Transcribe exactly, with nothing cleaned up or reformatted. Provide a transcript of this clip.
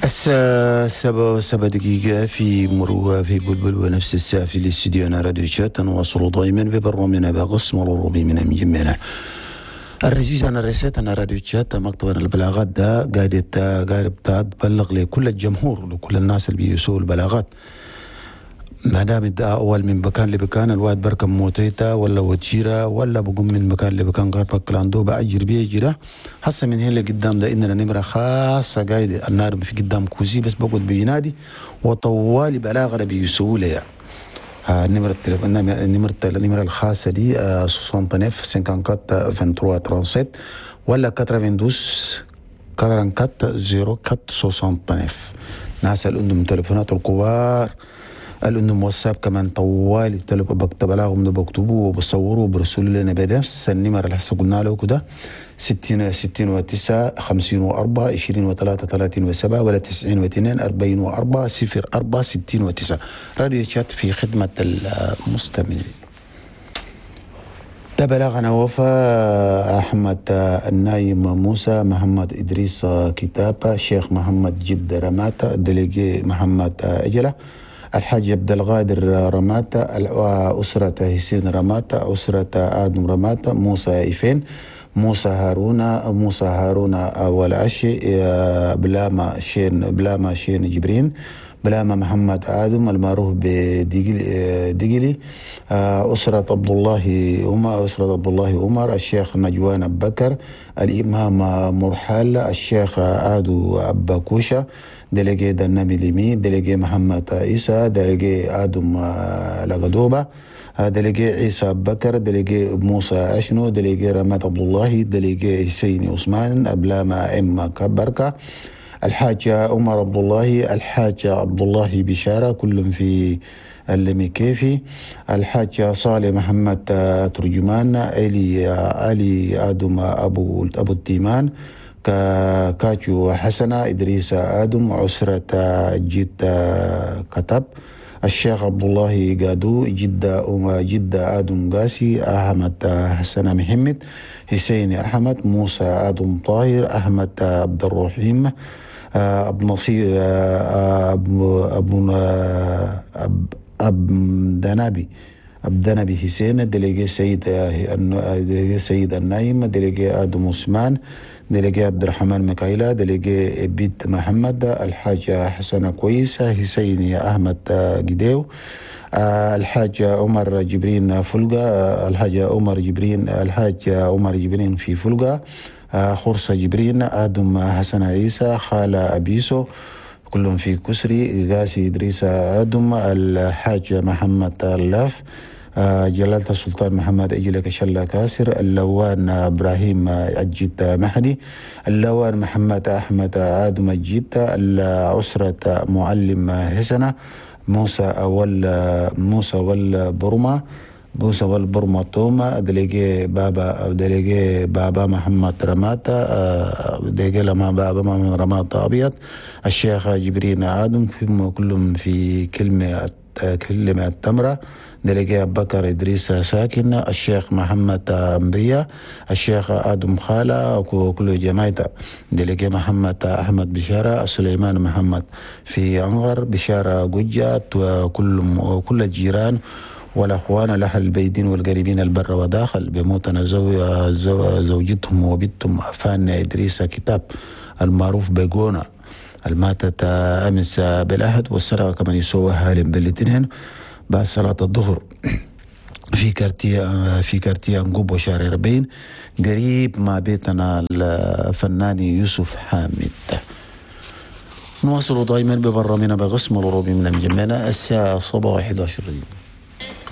الساعة سبعة وسبع دقيقة في مروة في بلبل، ونفس الساعة في الاستديو راديو شات. نواصل دائما ببرنامجنا بقسم الروبي من مجمعنا الرزيز. أنا رسالة راديو شات مكتب البلاغات ده قاعد قاعد تبلغ لكل الجمهور، لكل الناس اللي بيسووا البلاغات. ما دام ده اول من مكان لمكان، الواحد بركب موتيتا ولا وتشيرة ولا بقوم من مكان لمكان غير بكلاندو بأجر بيجري. هسه من هنا لقدام ده إننا نمرة خاصة قاعد النار في قدام كوزي بس بقعد بينادي وطوالي بلاغ بيسووا لي. نمرة التليفون، نمرة النمرة الخاصة دي تسعة وستين أربعة وخمسين ثلاثة وعشرين سبعة ولا اتنين وتسعين أربعة وأربعين صفر أربعة تسعة وستين. ناس اللي عندهم تليفونات الكبار، اللي عندهم واتساب كمان، طوالي بكتب بلاغهم ده بكتبوه وبصوروه وبرسلوا لنا بنفس النمر اللي هسه قلنا له كده: ستين ستين وتسعة خمسين وأربعة عشرين وثلاثة ثلاثين وسبعة ولا تسعين واثنين أربعين وأربعة صفر أربعة ستين وتسعة. راديو شات في خدمة المستمعين. ده بلغنا وفاة أحمد النايم موسى محمد إدريس كتاب، شيخ محمد جد رماتا، délégué محمد أجلة، الحاج عبد القادر رماتا، أسرة حسين رماتا، أسرة آدم رماتا، موسى إيفين، موسى هارون، موسى هارون والعشي، بلاما شين، بلاما شين جبرين، بلاما محمد آدم المعروف بدقلي، أسرة عبد الله عمر، أسرة عبد الله عمر، الشيخ نجوان أبو بكر، الإمام مرحال، الشيخ آدو أبا كوشة، délégué دنامي ليمي، délégué محمد عيسى، délégué آدم لغدوبة، délégué عيسى بكر، délégué موسى أشنو، délégué رمات عبد الله، délégué حسين عثمان، أبلاما إم كبركة، الحاج عمر عبد الله، الحاج عبد الله بشارة، كلهم في اللميكيفي، الحاج صالح محمد ترجمان، علي علي آدم أبو أبو التيمان، كاچو حسنة، إدريس آدم، عسرة جد كتب، الشيخ عبد الله قادو، جدة جدة آدم قاسي، أحمد حسن محمد، حسين أحمد، موسى آدم طاهر، أحمد عبد الرحيم، أبو نصير، أبو أبو أب دنابي، أبدنبي حسين، délégué سيد délégué سيد النايم، délégué آدم عثمان، délégué عبد الرحمن ميكايلا، délégué بيت محمد، الحاج حسن كويس، حسين أحمد جديو، الحاج عمر جبرين فلقة، الحاج عمر جبرين، الحاج عمر جبرين في فلقة، خرصة جبرين، آدم حسن عيسى، خالة أبيسو، كلهم في كسري، غاسي إدريس آدم، الحاج محمد اللاف، جلالة السلطان محمد أجلك شلا كاسر، اللوان إبراهيم أجيت مهدي، اللوان محمد أحمد آدم أجيت، الأسرة معلم حسنة، موسى أول موسى والبرمة، موسى والبرمة توما، délégué بابا، délégué بابا محمد رماتا، délégué لما بابا محمد رماتا أبيض، الشيخ جبرين آدم، كلهم في كلمة كلمة التمرة، délégué أبو بكر إدريس ساكن، الشيخ محمد أنبيا، الشيخ آدم خالة، كل جماعة، délégué محمد أحمد بشارة، سليمان محمد في أنغر، بشارة قجة، وكل كل الجيران والأخوان الأهل البيدين والقريبين البر وداخل بموتنا زو زو زوجتهم وبنتهم فان إدريس كتاب المعروف بجونا الماتت أمس بالأحد، والسرقة كمان يسووها بالاثنين بعد صلاة الظهر في quartier في quartier أنقوب وشارع أربعين قريب مع بيتنا الفنان يوسف حامد. نواصل دائما ببرنامجنا بقسم الروبي من مجمعنا. الساعة صباح أحد عشر.